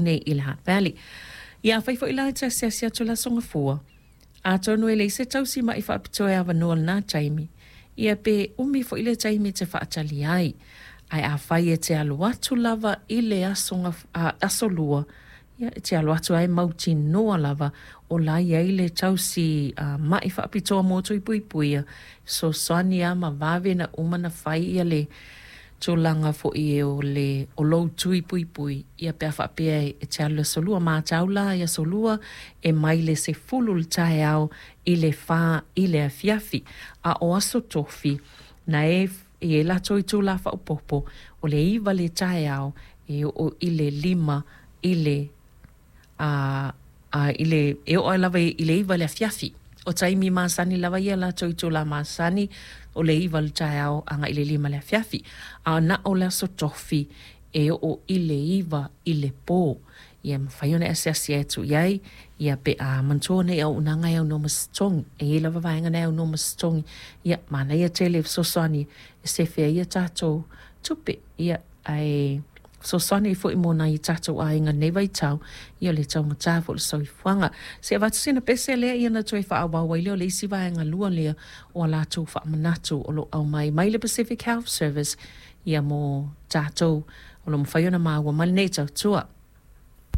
Nei i le Hutt Valley. Ia afai foi la e te asiasi atu i le Aso Gafua, atonu e leai se tausi ma'i faapitoa e avanoa i lena taimi, ia pe umi foi le taimi e te faatali ai. Ae afai e te alu atu lava i le aso, aso Lua, ia e te alu atu lava e mautinoa lava o la e i ai le tausi ma'i faapitoa mo tui puipuia, e fesoasoani lava ma vave ona uma ona fai ia le tulaga foi o le o lou tui puipui ia pe a faapea e te alu i le aso Lua. Matau la i aso Lua e mai le 10 i le taeao i le 4 i le afiafi. A o aso Tofi, na e i ai latou itula faaopoopo, o le 9 i le taeao e oo i le 5 i le a, a, i le, e oo lava i le 9 i le afiafi. O taimi masani lava ia latou itula masani, o le 9 i le taeao agai i le 5 i le afiafi. A na o le aso Tofi e oo i le 9 i le pō. Ia mafai ona e asiasi atu i ai, ia pe a manatua nei auaunaga e aunoa ma se totogi. E i ai lava vaega na e aunoa ma se totogi. Ia, manaia tele fesoasoani e sefe ai a tatou tupe. Ia, ae fesoasoani ai foi mo nai o tatou aiga i lenei vaitau, ia o le taugata foi o le soifuaga. Se i avatu sina pese lea ia ona toe faaauau ai lea o le isi vaega lua lea o a latou faamanatu o lo o aumai mai le Pacific Health Service ia mo tatou o lo o mafai ona maua mai lenei tautua.